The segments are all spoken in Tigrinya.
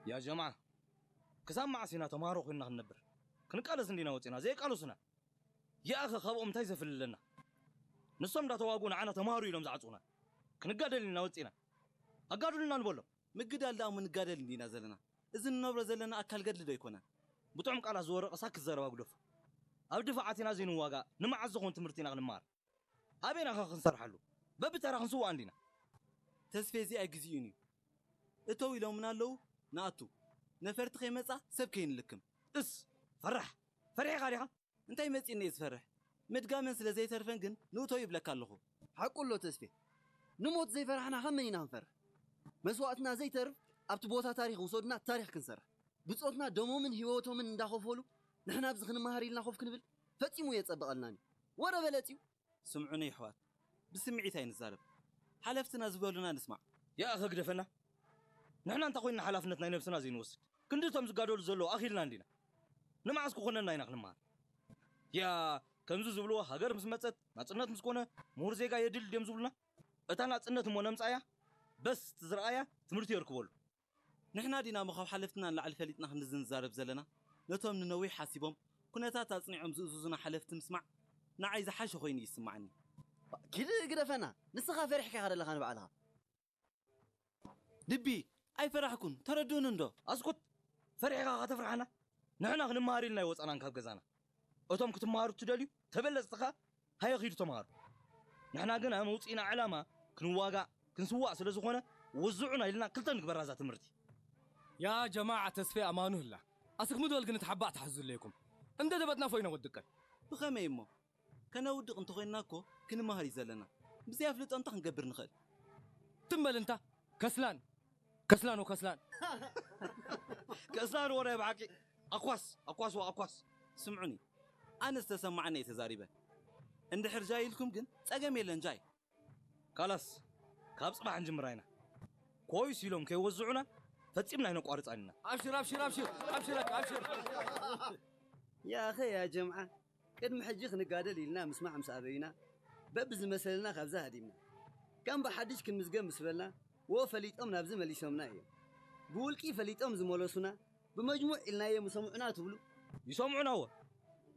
ያ ጀማዓ፣ ክሳብ መዓስ ኢና ተምሃሮ ኮይንና ክንነብር? ክንቃለስ እንዲና ወፂና፣ ዘይቃለሱና። ያኣኸ ካብኦም እንታይ ዘፍልለና? ንሶም እንዳተዋጉ ንዓና ተምሃሩ ኢሎም ዝዓፅኡና። ክንጋደል ኢና ወፂና። ኣጋድሉና ንበሎም። ምግዳል ደኣ እሞ ንጋደል እንዲና ዘለና። እዚ ንነብሮ ዘለና ኣካል ገድሊ ዶ ኣይኮነን? ብጥዑም ቃላት ዝወረቐ ሳክት ዘረባ ግደፎ። ኣብ ድፋዓት ኢና ዘይንዋጋእ፣ ንመዓስ ዝኾን ትምህርቲ ኢና ክንመሃር? ኣበይና ኸ ክንሰርሓሉ? በብተራ ክንስዋእ እንዲና። ተስፌ፣ እዚ ኣይግዚኡን እዩ። እተው ኢሎምና ኣለዉ፣ ንኣቱ። ነፈርቲ ከይመጻ ሰብ ከይንልክም። እስ፣ ፈራሕ፣ ፈሪሕኻ ዲኻ? እንታይ መጺእኒ እየ ዝፈርሕ? ምድጋመን ስለ ዘይተርፈን ግን ንእተው ይብለካ ኣለኹ። ሓቁ ኣሎ ተስፌ። ንሞት ዘይፈራሕና ካብ መን ኢና ክንፈርሕ? መስዋእትና ዘይተርፍ ኣብቲ ቦታ ታሪኽ ውሰዱና፣ ታሪኽ ክንሰርሕ። ብጾትና ደሞምን ህይወቶምን እንዳኸፈሉ ንሕና ኣብዚ ክንመሃር ኢልና ኮፍ ክንብል ፈጺሙ የጸብቐልናን እዩ። ወረ በለጽ እዩ። ስምዑኒ ይሕዋት፣ ብስምዒት ኣይንዛረብ። ሓለፍትና ዝበሉና ንስማዕ። ያኣኸ ግደፈና። ንሕና እንታይ ኮይንና ሓላፍነት ናይ ነብስና ዘይንወስድ? ክንዲ እቶም ዝጋደሉ ዘለዉ ኣኺልና እንዲና። ንመዓስ ክኾነና ኢና ክንመሃር? ያ፣ ከምዚ ዝብልዎ ሃገር ምስ መጸት፣ ናጽነት ምስ ኮነ፣ ምሁር ዜጋ የድሊ ድዮም ዝብሉና? እታ ናጽነት እሞ ነምጻያ፣ በስ እቲ ዝረኣያ ትምህርቲ የርክበሉ። ንሕና ዲና እሞ ካብ ሓለፍትና ንላዕሊ ፈሊጥና ክንዲ ዝንዛረብ ዘለና? ነቶም ንነዊሕ ሓሲቦም፣ ኩነታት ኣጽኒዖም ዝእዝዙና ሓለፍቲ ምስማዕ ንዓይ ዝሓሸ ኮይኑ ይስማዓኒ። ኪድ ግደፈና፣ ንስኻ ፈሪሕካ ኢኻ ዘለኻ ንባዕልኻ። ድቢ፣ ኣይፈራሕኩን፣ ተረድኡኒ እንዶ። ኣስኩት፣ ፈሪሕኻ ከተፍርሓና? ንሕና ክንመሃር ኢልና ኣይወጻናን ካብ ገዛና። እቶም ክትመሃሩ እትደልዩ ተበለጽቲ ኸኣ ሃየ ኺዱ ተምሃሩ። ንሕና ግን ኣብ መውጽኢና ዕላማ ክንዋጋእ፣ ክንስዋእ ስለ ዝኾነ ወዝዑና ኢልና ክልተ ንግበራ እዛ ትምህርቲ። ያ ጀማዓ ተስፌ ኣማኑ ህላ። ኣስክ ምድወል ግን እቲ ሓባእ ትሓዙ ኣለይኩም። እንደ ደበትና ፎይና ወድቀን። ብኸመይ እሞ? ከነውድቕ እንተኾይንና እኮ ክንመሃር እዩ ዘለና። ብዘይ ኣፍልጦ እንታይ ክንገብር ንኽእል? ትም በል እንታ። ከስላን። ከስላን ወከስላን። ከስላን ወረ ብሓቂ። ኣኳስ፣ ኣኳስ ወኣኳስ። ስምዑኒ። ኣነ ዝተሰማዓኒ እየ ተዛሪበ። እንድሕር ጃይ ኢልኩም ግን ጸገም የለን ጃይ። ካላስ፣ ካብ ጽባሕ ንጅምራ ኢና። ኮይስ ኢሎም ከይወዝዑና ፈጺምና ኣይነቋርጻን ኢና። ኣብሽር፣ ኣብሽር፣ ኣብሽር፣ ኣብሽር፣ ኣብሽር። ያኸ ያ ጀምዓ፣ ቅድሚ ሕጂ ክንጋደል ኢልና ምስማዕ ምስ ኣበዩና፣ በብዝመሰለና ካብዛ ሃዲምና። ከም ብሓድሽ ክንምዝገብ ምስ በልና፣ ወ ፈሊጦም ናብዚ መሊሶምና እዮም። ብውልቂ ፈሊጦም ዝመለሱና፣ ብመጅሙዕ ኢልናዮም ይሰምዑና ትብሉ? ይሰምዑና ወ።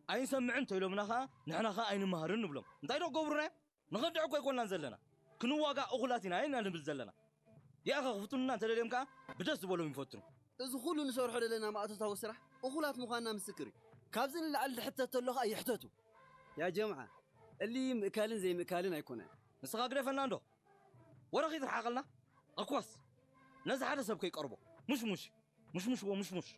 ኣይንሰምዕን እንተኢሎምና ኸኣ ንሕና ኸኣ ኣይንመሃርን ንብሎም። እንታይ ዶ ክገብሩና እዮም? ንኸድዕ እኮ ኣይኮንናን ዘለና። ክንዋጋእ እኹላት ኢና ኢና ንብል ዘለና። ያኸ ክፍትኑና እንተደልዮም ከኣ ብደስ ዝበሎም ይፈትኑ። እዚ ኩሉ ንሰርሖ ዘለና ማእቶታዊ ስራሕ እኹላት ምዃንና ምስክር እዩ። ካብዚ ንላዕሊ ዝሕተት ተሎ ኸኣ ይሕተቱ። ያ ጀምዓ፣ እሊ ምእካልን ዘይምእካልን ኣይኮነን። ንስኻ ግደፈና እንዶ። ወረ ኺትርሓቐልና። ኣኳስ ነዚ ሓደ ሰብ ከይቀርቦ። ሙሽሙሽ። ሙሽሙሽ ወሙሽሙሽ።